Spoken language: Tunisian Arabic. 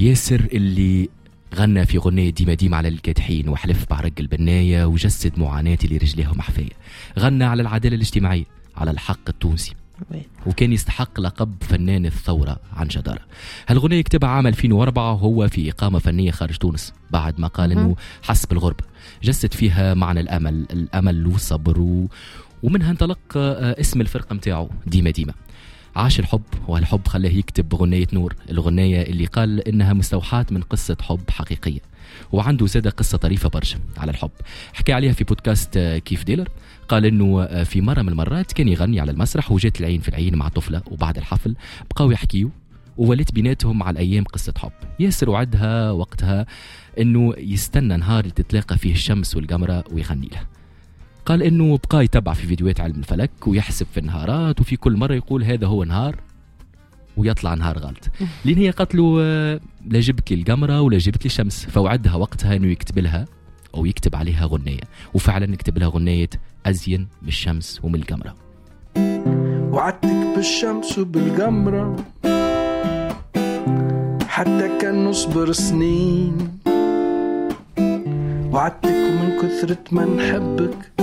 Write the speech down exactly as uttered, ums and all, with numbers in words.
ياسر اللي غنى في غنية ديما ديما على الكادحين وحلف بعرق البناية وجسد معاناة اللي رجليهم حفاية. غنى على العدالة الاجتماعية، على الحق التونسي، وكان يستحق لقب فنان الثورة عن جدارة. هالغنية كتبها عام ألفين وأربعة وهو في إقامة فنية خارج تونس، بعد ما قال إنه حس بالغربة. جسد فيها معنى الأمل، الأمل والصبر و... ومنها انطلق اسم الفرقة متاعه ديما ديما. عاش الحب، وهالحب خلاه يكتب غنية نور، الغنية اللي قال إنها مستوحاة من قصة حب حقيقية. وعنده زادة قصة طريفة برشا على الحب حكى عليها في بودكاست كيف ديلر. قال إنه في مرة من المرات كان يغني على المسرح وجات العين في العين مع طفلة، وبعد الحفل بقاو يحكيوا وولت بيناتهم على الأيام قصة حب. ياسر وعدها وقتها إنه يستنى نهار اللي تتلاقى فيه الشمس والقمرة ويغني لها. قال إنه بقى يتبع في فيديوهات علم الفلك ويحسب في النهارات، وفي كل مرة يقول هذا هو نهار ويطلع نهار غلط. لين هي قالت له لا جبت لي القمرة ولا جبت لي الشمس، فوعدها وقتها إنه يكتب لها أو يكتب عليها غنية، وفعلا كتب لها غنية أزين من الشمس ومن القمرة. وعدتك بالشمس وبالقمرة حتى كان نصبر سنين، وعدتك ومن كثرة ما نحبك